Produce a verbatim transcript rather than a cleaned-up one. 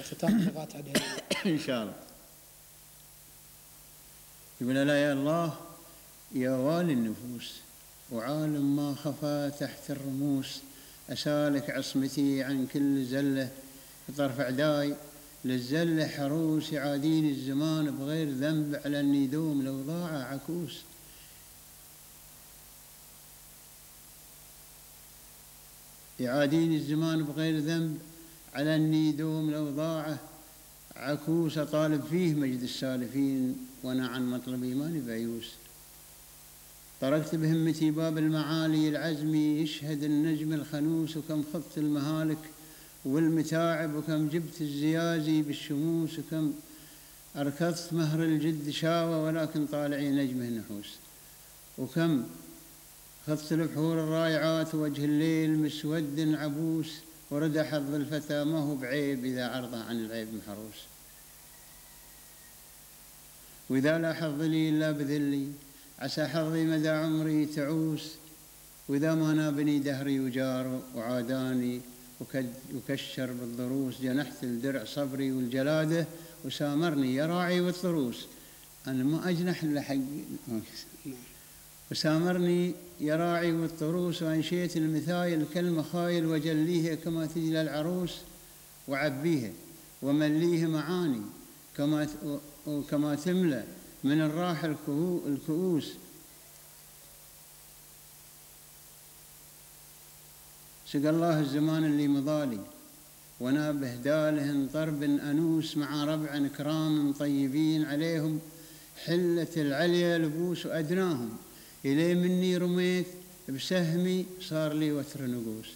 ختام لغات عدد إن شاء الله. يقول لا يا الله يا والي النفوس وعالم ما خفى تحت الرموس، أسالك عصمتي عن كل زلة طرف عداي للزلة حروس، يعاديني الزمان بغير ذنب على الندوم لو ضاع عكوس. يعاديني الزمان بغير ذنب على الندوم لو ضاع عكوس، أطالب فيه مجد السالفين وأنا عن مطلبي ماني بعيوس. طرقت بهمتي باب المعالي العزمي يشهد النجم الخنوس، وكم خضت المهالك والمتاعب وكم جبت الزيازي بالشموس، وكم أركضت مهر الجد شاوى ولكن طالعي نجمه نحوس، وكم خضت البحور الرائعات وجه الليل مسود عبوس، ورد حظ الفتى ما هو بعيب إذا عرضه عن العيب محروس. وإذا لا حظ لي إلا بذلي عسى حظي مدى عمري تعوس، وإذا ما نابني دهري وجار وعاداني وكشر بالضروس، جنحت الدرع صبري والجلادة وسامرني يا راعي والضروس. أنا ما أجنح إلا حق وسامرني يا راعي والطروس، وأنشيت المثايل كالمخايل وجليها كما تجلى العروس، وعبيها ومليها معاني كما كما تملى من الراح الكؤوس. سقى الله الزمان اللي مضالي وانا بهدالهن طرب أنوس، مع ربع كرام طيبين عليهم حلة العليا لبوس، وأدناهم إلي مني رميت بسهمي صار لي وتر نقوس.